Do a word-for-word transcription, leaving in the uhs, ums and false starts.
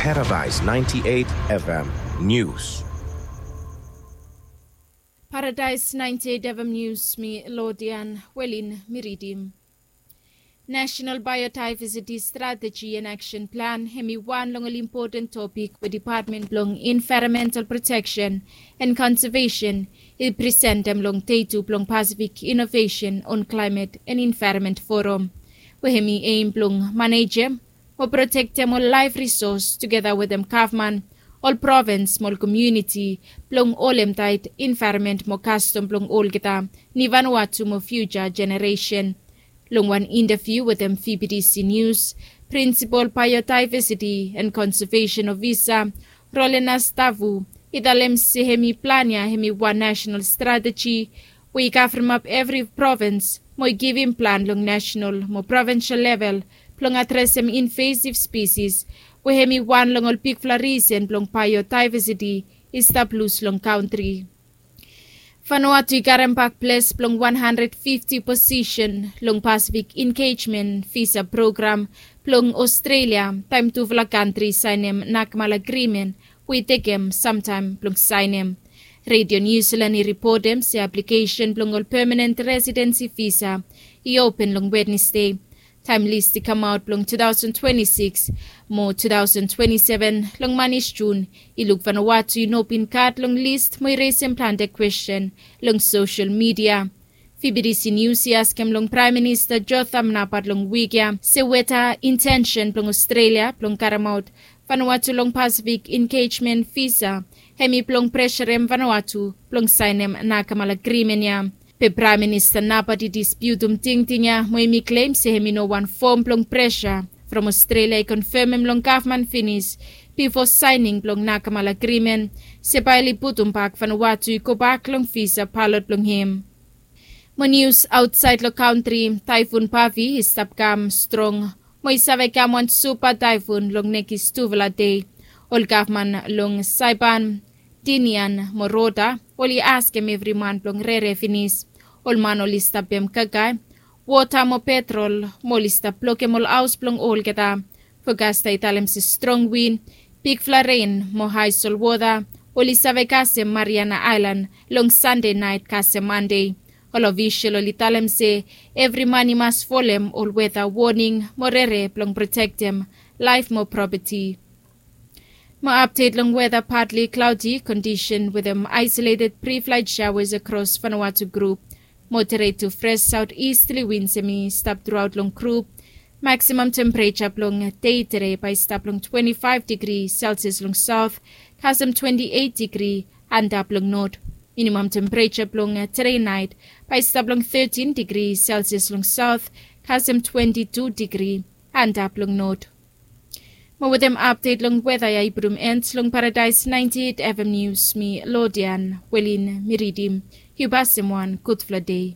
Paradise ninety-eight F M News. Paradise ninety-eight F M News, mi Lodian Welin mi ridim. National Biodiversity Strategy and Action Plan hemi wan long ol impoten topik we Department blong Environmental Protection and Conservation i presentem long dei tu blong Pacific Innovation on Climate and Environment Forum, we hemi aim blong manejem mo protektem ol laef risos tugeta wetem gavman, ol provens mo ol komuniti blong holem taet envaeronmen mo kastom blong olgeta ni Vanuatu mo fiuja jeneresen. Long wan intaviu wetem V B T C News, Prinsipol Biodiversity and Konseveson Ofisa Rolenas Tavu i talem se hemi plan ya hemi wan nasenal strateji we i kavremap evri provens mo i givim plan long nasenal mo provensel level blong adresem invasiv spisis we hemi wan long ol bigfala risen blong biodiversiti i stap lus long kantri. Vanuatu i karem bak ples blong wan handred fifti posisen long Pasifik Engejmen Visa Program blong Ostrelia taem tufala kantri i saenem nakmal agrimen we i tekem samtaem blong saenem. Redio Niu Silan i ripotem se aplikesen blong ol pemanen residensi visa i open long Wednesde. Taem lis i kamaot blong two thousand twenty-six mo two thousand twenty-seven long manis Jun i luk Vanuatu i no bin gat long lis mo i resem plante kwesten long sosel midia. V B T C News i askem long Praem Minista Jotham Napat long wik ya se weta intensen blong Ostrelia blong karemaot Vanuatu long Pasifik Engejmen Visa hemi blong presarem Vanuatu blong saenem nakmal agrimen ya. Be Praem Minista Napat i dispiutum tingting ya mo hemi klem se hemi no wan fom blong presa from Ostrelia i konfemem long gavman finis bifo saening blong nakmal agrimen se bae oli putum bak Vanuatu i gobak long visa balot blong hem. Mo nius aotsaed long kantri, Taefun Pavi i stap kam strong mo i save kam wan supa taefun long nekis tufala dei. Ol gavman long Saepan, Tinian mo Rota oli askem evri man blong rere finis. Ol man oli stap pem kakae, wota mo petrol mo oli stap blokem ol haos blong olgeta. Fokasta i talem se strong win, bigfala ren mo hae solwota oli save kasem Mariana Aelan long Sande naet kasem Mande. Ol ofisol oli talem se evri man i mas folem ol weta woning mo rere blong protektem laef mo propeti. Mo apdet long weta, partly cloudy condition wetem isolated pre-flight showers across Vanuatu group. Moderate to fresh southeasterly winds hemi stap truaot long group. Maximum temperature blong dei tede bae i stap long twenty-five degree Celsius long south kasem twenty-eight degree antap long north. Minimum temperature blong tede naet bae i stap long thirteen degree Celsius long south kasem twenty-two degree antap long north. Mo wetem apdet long weta ya i putum en long Paradise ninety-eight F M News, mi Lodian Welin mi ridim. Yu pasem wan gudfala dei.